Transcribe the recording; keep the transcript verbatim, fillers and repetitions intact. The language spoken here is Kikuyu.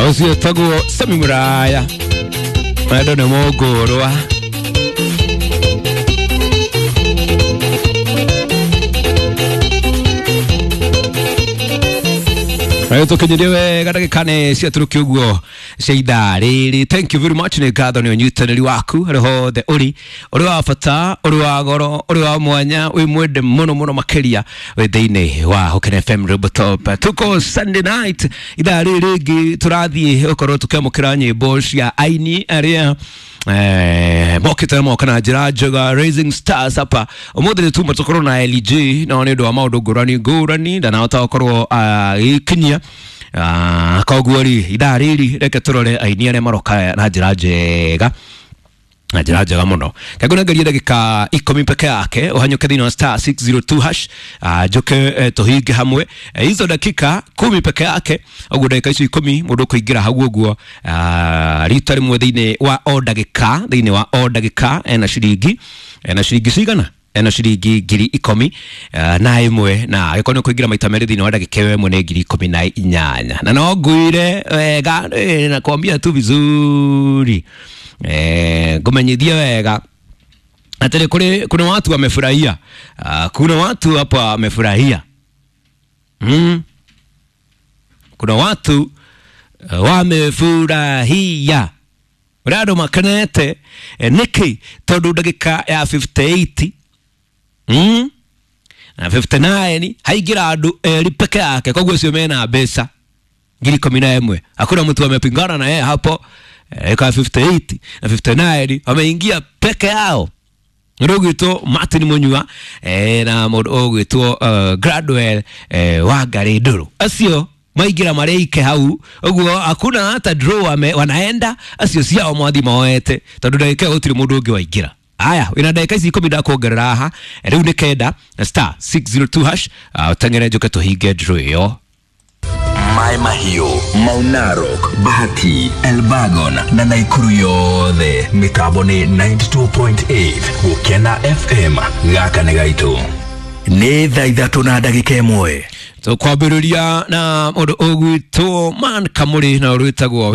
Ũcio tagwo Sami Muraya. Wendo nĩ mũngũrwa. Tũkinyirie wega ndagĩka nĩ ciatũrũkia ũguo cia ithaa rĩrĩ. Thank you very much, nĩ ngatho nĩ ũnyitanĩri waku harĩ hothe ũrĩ, ũrĩ wa bata, ũrĩ wa goro, ũrĩ wa mwanya, wĩ mwende mũno mũno makĩria wĩ thĩinĩ wa Hoken F M Robo Top. Tuko Sunday night ithaa rĩrĩ rĩngĩ tũrathiĩ ũkorwo tũkĩamũkĩra nyĩmbo cia aini arĩa eh mokĩte moka na njĩra njega, Rising Stars hapa. Ũmũthĩ nĩ tuma tũkorwo na L G no nĩ ũndũ wa maũndũ ngũrani ngũrani ndanahota gũkorwo agĩkinyia. Ah, koguo rĩ ithaa rĩrĩ reke tũrore aini arĩa maroka na njĩra njega, na njĩra njega mũno. Kangũnengerie ndagĩka ikũmi peke yake ũhanyũke thĩinĩ wa star six zero two hash, njoke tũhinge hamwe hizo dakika kumi peke yake. Ũguo ndagĩka icio ikũmi mũndũ ũkũingĩra hau ũguo rita rĩmwe thĩinĩ wa o ndagĩka, thĩinĩ wa o ndagĩka ena ciringi, ena ciringi cigana? Ena ciringi ngiri ikũmi na ĩmwe, na angĩkorwo nĩ ũkũingĩra maita merĩ thĩinĩ wa ndagĩka ĩyo ĩmwe nĩ ngiri ikũmi na inyanya. Na no ngwĩre wega, nakwambia tu vizuri, eh ngumenyithie wega atĩrĩ, kũrĩ kuna watu wamefurahia. Uh, kuna watu hapa wamefurahia. Mm. Kuna watu uh, wamefurahia. Ũrĩa andũ makenete eh, nĩkĩ? Tondũ ndagĩka ya fifty-eight mm? na fifty-nine haingĩra andũ erĩ peke yake, koguo acio mena mbeca ngiri ikũmi na ĩmwe. Hakuna mtu amepingana na yeye hapo. Eka fifty-eight na fifty-nine wameingia peke yao. Ũgwĩtwo Martin Munyua eh, na mũndũ ũgwĩtwo uh, Gradwell eh, Wangari Ndũrũ, acio maingĩra marĩike hau ũguo, hakuna hata draw wame, wanaenda acio ciao mwathi moete, tondũ ndagĩka gũtirĩ mũndũ ũngĩ waingĩra. Aya, wĩna ndagĩka ici ikũmi ndakuongerera haha rĩu nĩ kenda star six zero two hash, ũteng'ere njũke tũhinge draw ĩyo. Mai Mahiũ, Mau Narok, Bahati, Elbagon na Naikuru yothe mĩtambo nĩ ninety-two point eight Gũkena F M. Gaka nĩ gaitũ. Nĩ thaa ithatũ na ndagĩka ĩmwe. Tũkwambĩrĩria na mũndũ ũgwĩtwo Man Kamũrĩ na ũrwĩtagwo